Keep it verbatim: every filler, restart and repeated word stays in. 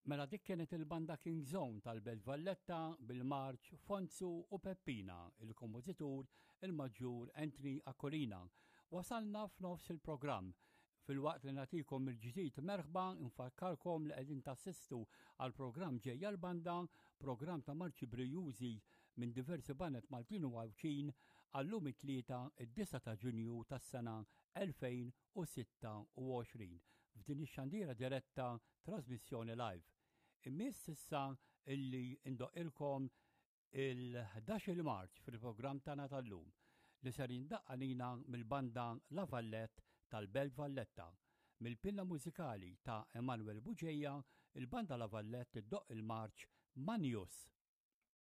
Mela dik kienet il-banda King Zone tal-Belt Valletta bil-marċ Fonzu u Peppina, il-kompożitur il-Maġġur Anthony Aquilina. Wasalna f'nofs il-programm. Filwaqt li nagħtikom il-ġdid merħba, nfakkarkom li qegħdin tassistu għal programm Ġejja l-Banda, programm ta' marċi brijużi minn diversi baned Maltin u Għawdxin għallum it-Tlieta, id-disgħa ta' Ġunju tas-sena elfejn u sitta u għoxrin f'din ix-xandira diretta, trasmissjoni live. Immiss issa illi indoqqilkom il-ħdax-il marċ fil-programm tagħna tal-lum li ser jindaqq għalina mill-banda La Vallette tal-Belt Valletta. Mill-pinna mużikali ta' Emanuel Bugeja, il-banda La Vallette iddoqq il-marċ Manius.